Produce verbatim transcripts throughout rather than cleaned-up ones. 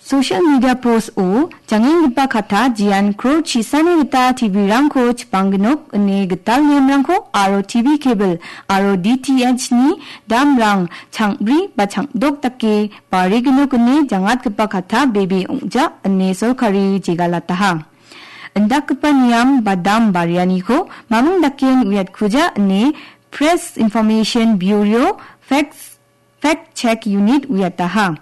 Social media post-o jangenggipa katta jian crore chisani gita T V-rangko chipanggnok ine gital niamrangko aro T V cable aro D T H-ni damrang changri ba changdok dake barignok ine jangatgipa katta bebe ong·ja ine sorkari jegalataha. Indakgipa niam ba dam barianiko maming daken uiatkuja ine Press Information Bureau facts Fact Check Unit uiataha.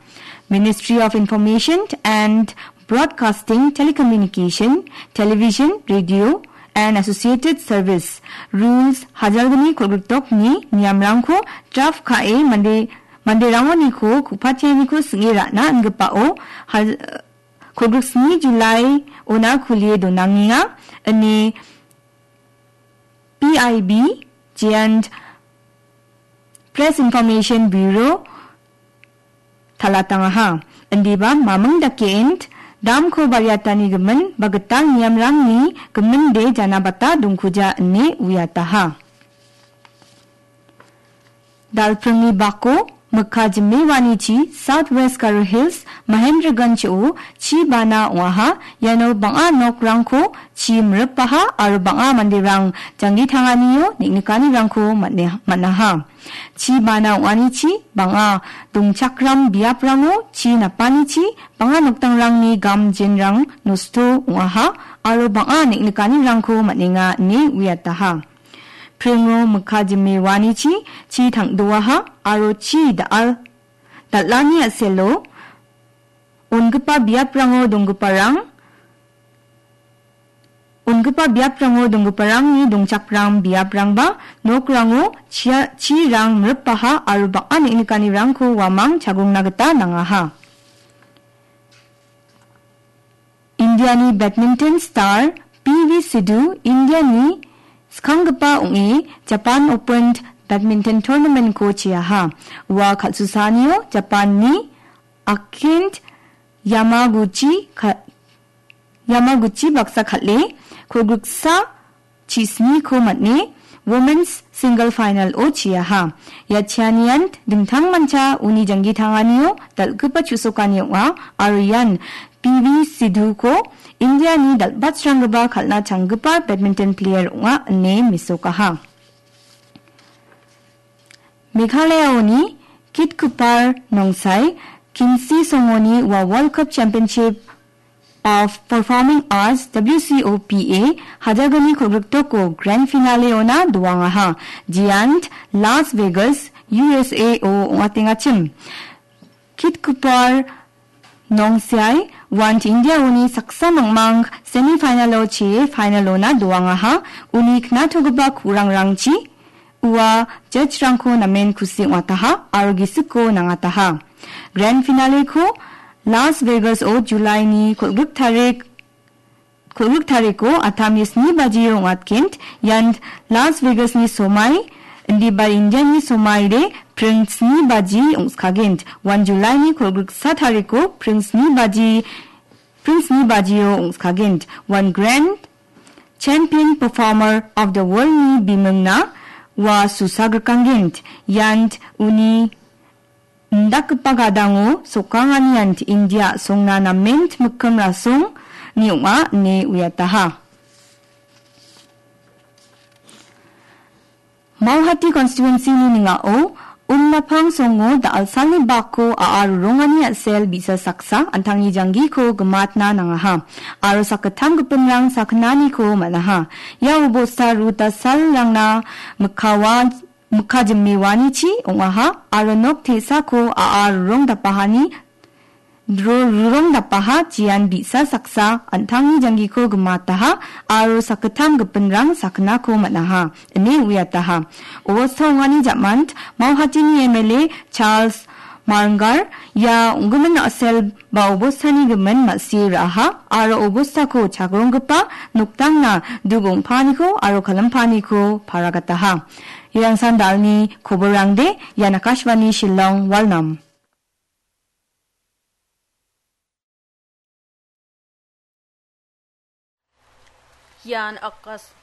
Ministry of Information and Broadcasting, Telecommunication, Television, Radio and Associated Service rules hajalgni kolgrikdokni niamrangko draft ka·e mande, manderangoniko ku·patianiko sing·e ra·na ingipao hal-, kolgriksni July ona kulie donangenga ine P I B, Joint Press Information Bureau talatangaha. Indiba maming dake int, damko bariatani gimin, ba gital niamrangni giminde janabata dongkuja ine uiataha. Dalpringni bako mikka jimewanichi South West Garo Hills Mahendraganj-o chi bana ong·aha. Iano bang·a nokrangko chi miripaha aro bang·a manderang janggi tanganio neng·nikanirangko man·e-, man·aha. Chi bana ong·anichi bang·a dongchakram biaprango chi napanichi bang·a nokdangrangni gam jenrang nosto ong·aha aro bang·a neng·nikanirangko man·enga ine uiataha. Pringo mikka jime uanichi chi tangdoaha aro chi da·al, dal·ani a·selo ongipa biaprango donggiparang, ongipa biaprango donggiparangni dongchakram biaprangba nokrango chia-, chirang miripaha aro bang·a neng·nikanirangko uamang chagrongna gita nangaha. Indiani badminton star P V Sindhu Indiani skanggipa ong·e Japan Open badminton tournament-ko cheaha. Ua kal·susaanio Japanni Akint Yamaguchi ka-, Yamaguchi baksa kal·e kolgriksa chisniko man·e Women's Single Final-o cheaha. Ia cheanian dingtangmancha uni janggi tanganio dal·gipa chu·sokani ong·a aro ian P V Sindhuko Indiani dal·batsranggipa kal·na changgipa badminton player ong·a ine mesokaha. Meghalayaoni Kitkupar Nongsai Kinsi Songoni ua World Cup Championship of Performing Arts, W C O P A, hajalgni kolgriktoko grand finale-ona doangaha. Jeant Las Vegas, U S A-o ong·atengachim. Kitkupar Nongsiai want India-oni saksa mangmang semi-final-o chee final-ona doangaha. Uni knatogipa ku·rangrangchi ua judge-rangko namen kusi ong·ataha aro gisiko nangataha. Grand finale-ko Las Vegas-o July-ni kolgrik tarik, kolgrik tariko atamni sni bajio ong·atgen. Ian Las Vegas-ni somai, indiba India-ni somaide pring sni baji ong·skagent. Uan July-ni kolgriksa tariko pring sni baji, pring sni bajio ong·skagent. Uan Grand Champion Performer of the World-ni bimingna ua susagrikangent. Ian uni indakgipa gadango sokangani ant India songna namen mikkim rasongni ong·a ine uiataha. Mauhati constituency-ni ning·ao Umnapang songo da·alsalni bako a·a rurongani a·sel bi·sa saksa an·tangni janggiko gimatna nangaha aro sakgittam gipinrang sakgnaniko man·aha. Ia obosta ruta salrangna mikkawa mikka jimewanichi ong·aha aro nok te·sako a·a rurong dapahani dro-, rurong dapaha jean bi·sa saksa an·tangni janggiko gimataha aro sakgittam gipinrang sakgnako man·aha, ine uiataha. Obosta ong·ani ja·mant Mauhatini M L A Charles Marngar ia ong·gimin a·sel ba obostani gimin ma·sie ra·aha aro obostako chagronggipa nokdangna duk ong·paaniko aro kalimpaniko paragataha. Irangsan dalni koborangde, ian Akashvani Shillong, Walnam. Ian Akas-,